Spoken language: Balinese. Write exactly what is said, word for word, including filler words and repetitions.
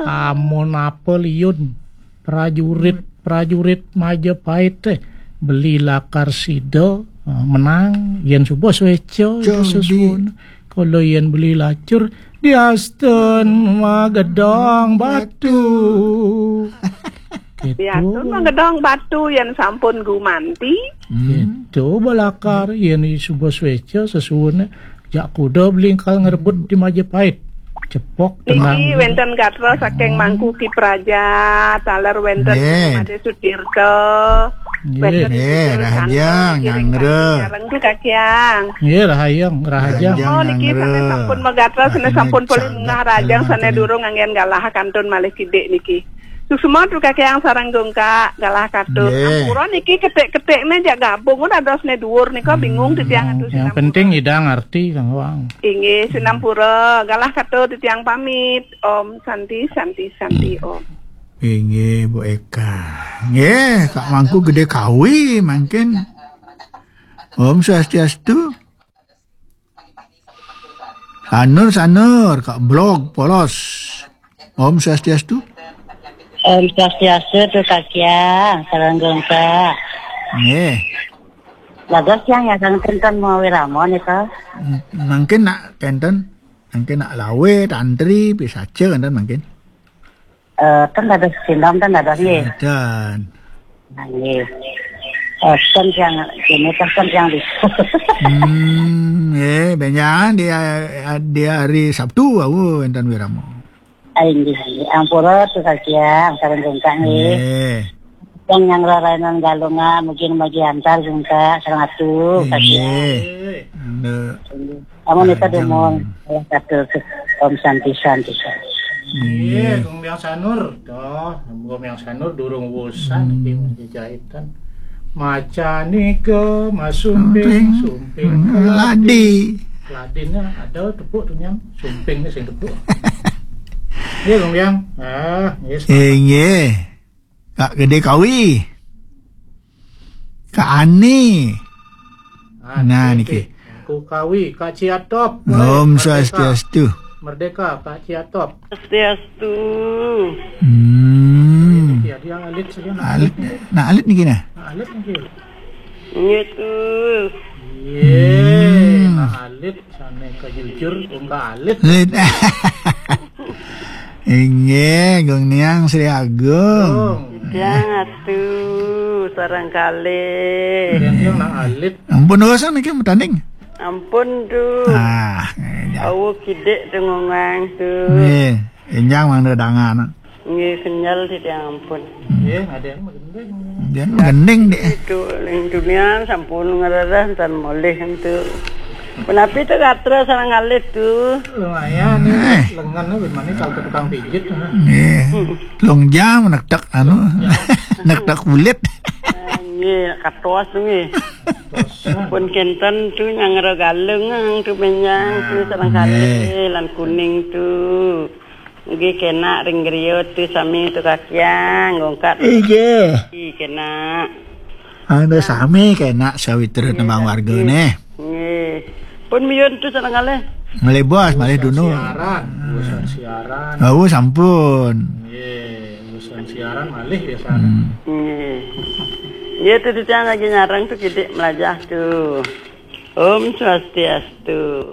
Amun apa liun prajurit-prajurit Majapahit téh beli lakar sida, eh, menang, yén suba suéca itu sesuun. Kalau yén beli lacur, diastun magedong batu. Gitu. Diastun magedong batu yén sampun gumanti. Hmm. Gitu, balakar, yén suba suéca sesuun. Jak kuda beli engkal ngrebut di Majapahit. Cepok. Niki tenang. Wénten gatra saking Mangku Ki Praja, taler wénten Made Sutirta. Nggih. Wénten Nggih, Sutirta rahajeng, Santo, Nyanggra. Nyareng tu Kakiang. Nggih, rahajeng, rahajeng. Rahajeng, oh, niki Nyanggra. Sané sampun magatra, sané sampun polih munggah rahajeng, sané durung anggén galah kantun malih kidik niki. Suksma tu Kakiang sareng Gungkak, galah katut. Nggih. Ampura niki ketik-ketikné jak gabung, dados né dhuwur nika bingung titiang. Hmm, yang penting Ida ngerti, Kang Wang. Inggih, sinampura, galah katut titiang pamit. Om Santi, Santi, Santi, Om. Inggih, Bu Eka. Nggih, Kak Mangku Gedé Kawi mangkin. Om Swastiastu. Sanur, Sanur, Kak Blog, polos. Om Swastiastu. Om Swastiastu tu Kakiang, sareng Gungkak. Nggih. Bagus yang ya, Kang, tenten mau wirama nika. M-, mangkin nak tenten, mangkin nak lawé, tantri, pisaca enten mangkin. Eh, kan dados sindom, kan dados, nggih. Enten. Nah, nggih. Eh, kan yang ini, kan yang di. Hmm, nggih, benjang di, di hari Sabtu wau enten wirama. Ah, inggih, inggih. Ampura tu Kakiang, sareng Gungkak, nggih. Nggih. Yang, yang rarainan Galungan, mungkin bagi antar Gungkak, sareng atu, Kakiang. Nggih. Nggih. Amun nika dumun, salah satu Om Santi, Santi, Santi. Iya, Gong Biang Sanur. Toh, Gong Biang Sanur durung wusan iki jahitan. Macan nika masumping, sumping keladi. Keladinya ada tepuk tuh, Nyang. Sumpingnya sing tepuk. Iya, Gong Biang. Ah, iya, semangat. Inggih. Kak Gedé Kawi. Kak Ani. Ah, nah, niki. Kak Kawi, Kak Ciatop. Om Swastiastu. Merdeka, Kak Ciatop. Swastiastu. Hmm. Iya, dia alit saja, nah. Alit, nah, alit niki, nah. Nah, alit niki. Nggih, tuh. Iya, hmm. Nah, alit, sané kajujur, ungkah alit. Alit. Inggih, Gung Niang Sri Agung. Gung. Yang atu, sareng kalih. Yang, yang nak alit. Ampun, dosa niki matanding. Ampun, tuh. Ah, ya. Awu kidik tu ngongang, tuh. Nggih, enjang mangda dangan. Nggih, kenyal titiang ampun. Nggih, ada yang magending. Dia magending, Dek. Itu, ning dunia sampun ngrereh tan molih entu. Punapi tu gatra sareng alit tu. Lumayan nih, eh, lengan nih gimana kalau ke tukang pijit, nah. Nggih. Telung jam nektek anu. Ya. Nektek kulit. Nggih, katos nggih. Tosan. Pun kenten tu nyang regaleng tu menyang tu sareng kalih lan kuning tu. Nggih, kena ring griya tu sami tu kakiang, ngongkat. Inggih. Nggih, kena. Anda sami kena sawitra nembang warga neh. Nggih. Pun miyun tu sareng kalih. Malih bos, malih dunu. Siaran, urusan siaran. Oh, sampun. Nggih, urusan siaran malih biasane. Hmm. Nggih. Nggih, tu titiang lagi nyareng tu kidik melajah tu. Om Swastiastu.